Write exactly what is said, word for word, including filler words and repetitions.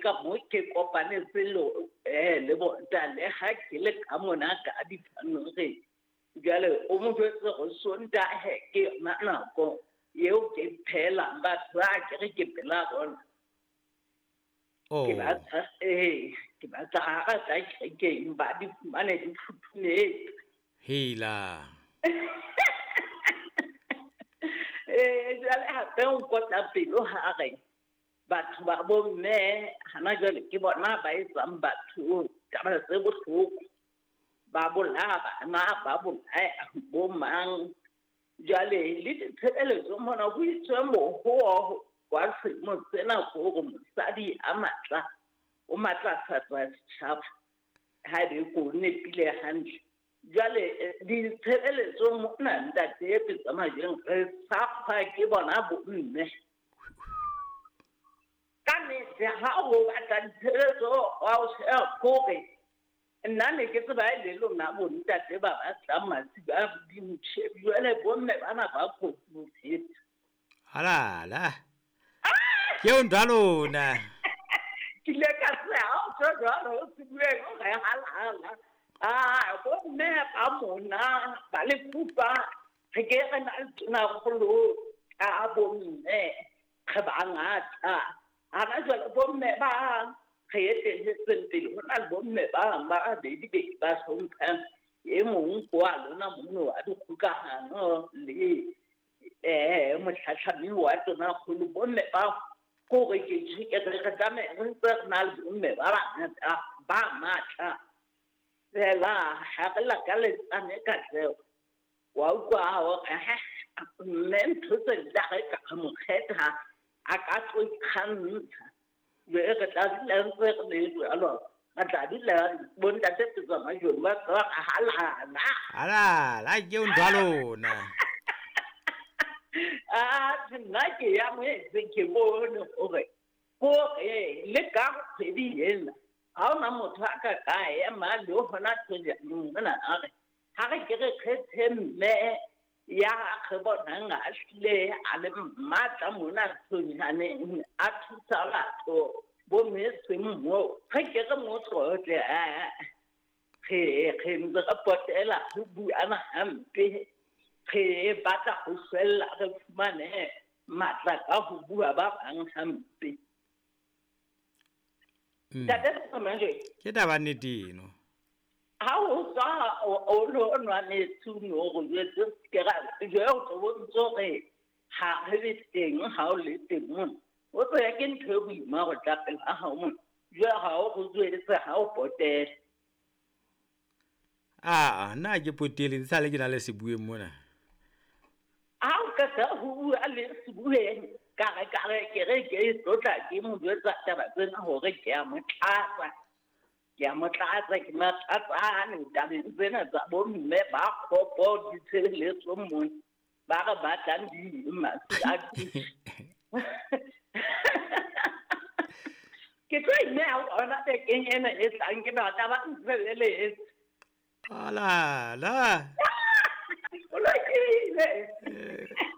ka mo ke kopanetse le eh le bonta le ha ke le ka mona ka dipanore. Jwale o mo jwetse go Sontaha ke yona nako eo ke phelang batho ba ke re ke pela bona. Oh. Ke batla eh ke batla ha ba tla kerekeng ba di fumane di futhumetse. Hela. Eh jwale hape o nkotla pelo ha re batho ba bomme hana jwale ke bona ba etsang batho taba tse bohloko. Ba bolaya bana, ba bolaya bo mang. Jwale le ditshebeletso mona ho itswe mohoho wa selemo sena ke hore mosadi a matla o matlafatsa setjhaba ha ebe ko nepile hantle. Jwale ditshebeletso mona ntate Pitsa Majweng re sa ke bona bomme. Ka nnete ha o batla ditshebeletso wa o sheba kore nna ne ke tseba e le lona bontate ba batlang masiba a hodimo tjhe, jwale bomme bana ba kotsi ho feta. Halala. Ke eo ntho ya lona. Ke ile ka tsheha ha o tjho jwalo, o se bue hore halala. Ah, bomme ba mona ba lefupa re ke re na le tonakgolo ka bomme re bangata. Hana jwale bomme ba re etelletseng pele ho na le bomme ba bang ba babedi be ba hlomphang. E mong ke wa lona mono wa dikgokahano le eh motlhatlhami wa tonakgolo. Bomme ba kore ke tjhe ke re re tlameha re ntse re na le bomme ba bangata ba matla. Fela ha re lakaletsane katleho. Wa utlwa hore mme ntho tse di tla re ka mo kgetha a ka tlo ikgantsha. Jwale re tla dula ntse re le jwalo. Re tla dula bontate Pitsa Majweng ba tswa halala. Halala ke eo ntho ya lona. Ah, nna ke ya moetse ke bone hore kore le ka kgwedi ena ha hona motho a ka ka ema le hona tjena mona a re ha re ke re kgethe mme ya re bonang a hlile a le matla mona tshwenyaneng a thusa batho bo mme seng moo re ke re mo tlotle a re re ntse re potela ho buana hampe re batla ho fella re fumane matla ka ho bua ba bang hampe. Ntate Majweng. Ke taba nnete eno. Ha o tswa o lo nwa metsi o no re jwetse ke ra jwale o tlo bontse hore ha re le teng ha o le teng mona. O tseba ke ntho e boima ho tla pela hao mona. Jwale ha o go jwetse ha o potele. Ah, nna ke potele sale ke na le sebueng mona. Ha o qeta ho bua le sebueng ka re ka re ke re ke tlotla ke mo jwetsa taba tsena hore ke a mo tlatsa. Ke a mo tlatsa ke matlatsane tabeng tsena tsa bomme ba kgopo ditshebeletso mona ba re batlang di masi a ke tlo ineha ona bekeng ena e tlang ke batla ba ntshebeletse. Halala. O lokile.